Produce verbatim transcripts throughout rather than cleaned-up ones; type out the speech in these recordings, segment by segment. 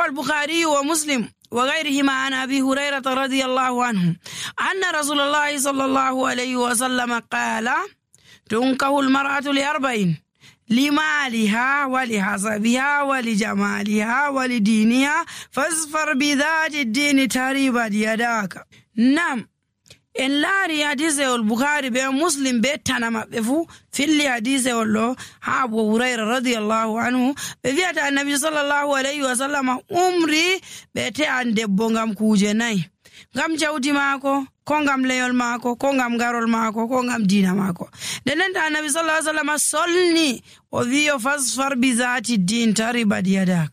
روى البخاري ومسلم وغيرهما عن أبي هريرة رضي الله عنه أن رسول الله صلى الله عليه وسلم قال تنكح المرأة لأربعين: لمالها ولحسبها ولجمالها ولدينها فاظفر بذات الدين تربت يداك. نعم، en laari hadisewol Bukhari be Muslim be tana maɓɓe fuu filli hadisewol ɗo ha Abu Hurayra radiyallahu anhu ɓe wi'ata annabi sallallahu alayhi wa sallam umri ɓe te'an debbo ngam kuuje nayi: ngam jawdi maako, ko ngam leyol maako, ko ngam garol maako, ko ngam diina maako. nden nden annabi sallallahu alayhi wa sallam solni o wi'o fasfar bi zati din taribat yadak,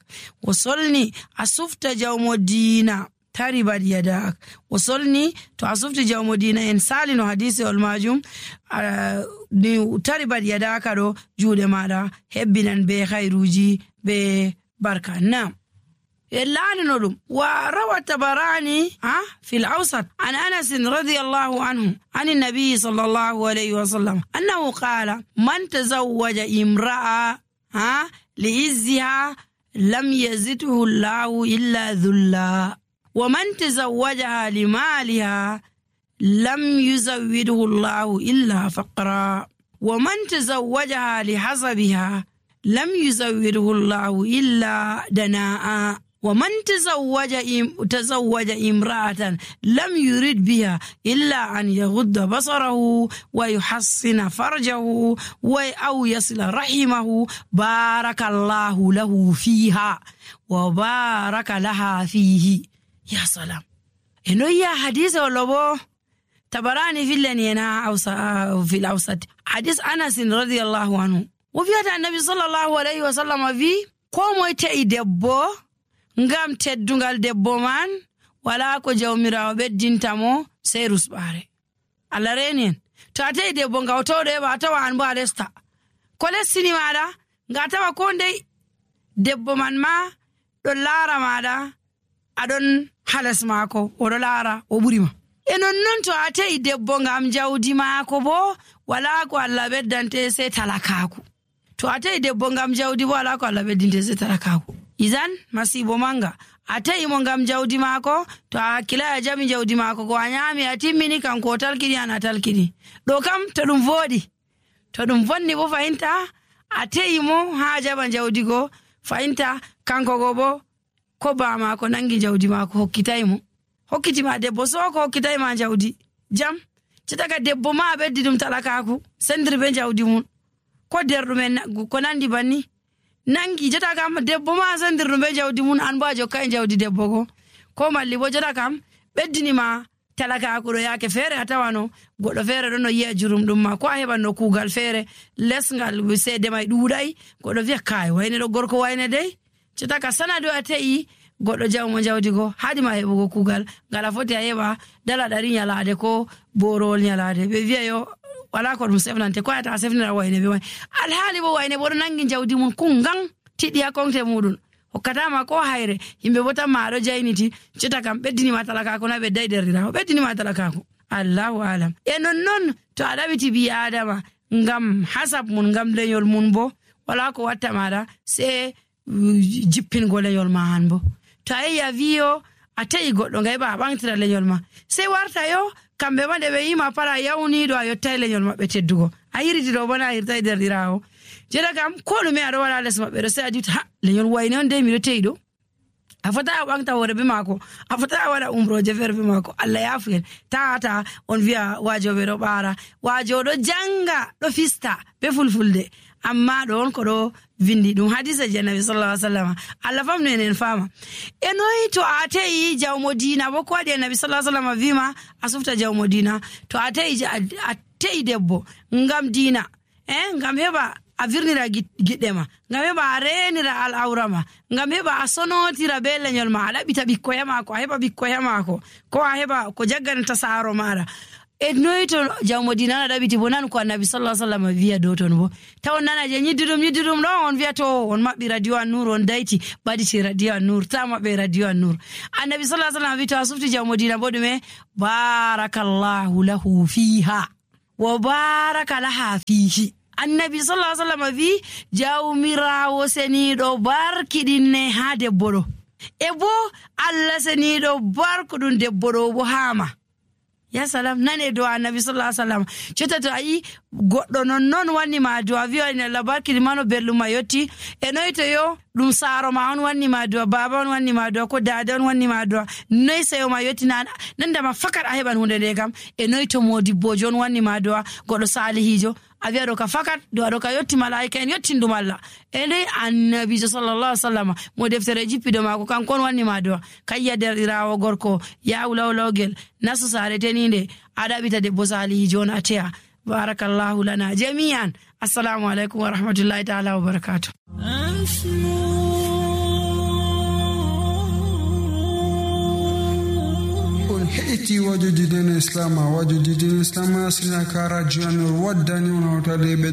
o solni a sufta jawmo diina taribat yadak, o solni to a sufti jawmo diina. en salino hadisi ol majum ni taribat yadaka ɗo juuɗe maɗa hebbinan be khairuji be barka. Nam لعنه لهم. وروى الطبراني في الأوسط عن أنس رضي الله عنه عن النبي صلى الله عليه وسلم أنه قال: من تزوج امرأة لعزها لم يزده الله إلا ذلا، ومن تزوجها لمالها لم يزوده الله إلا فقرا، ومن تزوجها لحسبها لم يزوده الله إلا دناء، ومن تزوج تزوج امرأة لم يرد بها إلا أن يغض بصره ويحسن فرجه أو يصل رحمه بارك الله له فيها وبارك لها فيه. يا سلام، إنه يا حديث ولو تبراني في اللينا في الأوسط حديث أنس رضي الله عنه وفي النبي صلى الله عليه وسلم في قوم يتأي دبو ngam teddungal debbo man wala ko jawmirawo beddintamo sey rusbare. Allah renien to atay debbo ngawtodo e ba tawa an bo alesta ko lessini mada nga tawa ko ndey debbo man ma do lara mada adon halas mako o do lara o burima. e non non to atay debbo ngam jawdi mako bo wala ko Allah beddante sey talakaku. to atay debbo ngam jawdi bo wala ko Allah beddinte sey talakaku. izan masibo manga atay mo ngam jawdi mako to akila ya jami jawdi mako ko anyami atimmini kan ko talkini ana talkini do kam to dum vodi to dum vonni bo fainta atay mo ha jaba jawdi go fainta kanko go bo ko ba mako nangi jawdi mako hokkitay mo hokkiti ma debbo so ko hokkitay ma jawdi jam citaga debbo ma beddi dum talakaku sendir be jawdi mun ko derdumen ko nandi banni nangi jota kam debbo ma sandirno be jawdi mun an ba jokka en jawdi debbo ko ko malli bo jota kam beddini ma talaka ko do yake fere atawano goddo fere do no yi'a jurum dum ma ko a heban no kugal fere lesngal wi sede may duuday goddo wi'a kay wayne do gorko wayne dey jota ka sanado atei goddo jawmo jawdi go hadi ma hebugo kugal ngala foti a heba dala dari nyalaade ko borol nyalaade be wi'a yo wala ko dum sefnante ko ata sefnira wayne be way alhaali bo wayne bo nangi jawdi mun kungang tidi akonte mudun hokkata ma ko hayre himbe bota ma do jayniti cita kam beddini ma talaka ko na be dayderira beddini ma talaka ko Allahu alam. e non non to adabiti bi adama ngam hasab mun ngam lenyol mun bo wala ko watta mada se jippin go lenyol ma han bo to ay ya viyo atay goddo ngay ba bangtira lenyol ma se warta yo kambe ma de be yima para yawni do ayo tayle nyol mabbe teddugo ayiriti do bona ayirta derdirawo jeda kam ko do me ado wala les mabbe do se adita ha lenyol wayne on de mi do teydo afata bangta wore be mako afata wala umro je verbe mako Allah yafu tata on via wajo be do bara wajo do janga do fista be fulfulde amma don ko do vindi dum hadisa je nabi sallallahu alaihi wasallam Allah famno enen fama enoyi to atei jawmo dina bo ko de nabi sallallahu alaihi wasallam vima asufta jawmo dina to atei atei debbo ngam dina eh ngam heba avirnira giddema ngam heba renira al awrama ngam heba asonotira be lenyol ma ala bita bikkoyama ko heba bikkoyama ko ko heba ko jagganta saaro mara e noyto jawmo dinana dabiti bonan ko annabi sallallahu alaihi wasallam wiya do ton bo taw nana je nyididum nyididum do on wiya to on mabbi radio an-nur on daiti badi ci radio an-nur ta mabbe radio an-nur annabi sallallahu alaihi wasallam wi to asufti jawmo dina bodume barakallahu lahu fiha wa baraka laha fihi. annabi sallallahu alaihi wasallam wi jawmirawo seni do barkidinne ha debbo do e bo Allah seniɗo barko ɗum debbo ɗo bo hama. Ya salam, nane do annabi sallallahu alaihi wasallam. Cota to ayi goddo non non wanni ma do aviyo ina Allah barki mano belluma yotti e noyto yo dum saaro ma on wanni ma do baba on wanni ma do ko dada on wanni ma do noy sayo ma yotti nan nanda ma fakat a heban hunde de kam e noyto modibbojo on wanni ma do godo salihijo aviya do ka fakat do do ka yotti malaika en yotti ndum Allah e dai annabi sallallahu alaihi wasallam mo deftere jippido mako kan kon wanni ma do kayya derirawo gorko ya ulawlawgel nasu sare teninde adabita debbo salihijo on atea. barakallahu lana jami'an. Assalamu alaikum wa rahmatullahi ta'ala wa barakatuh. Heiti wajudi dina Islam wajudi dina Islam asina kara juan wadani unawtale be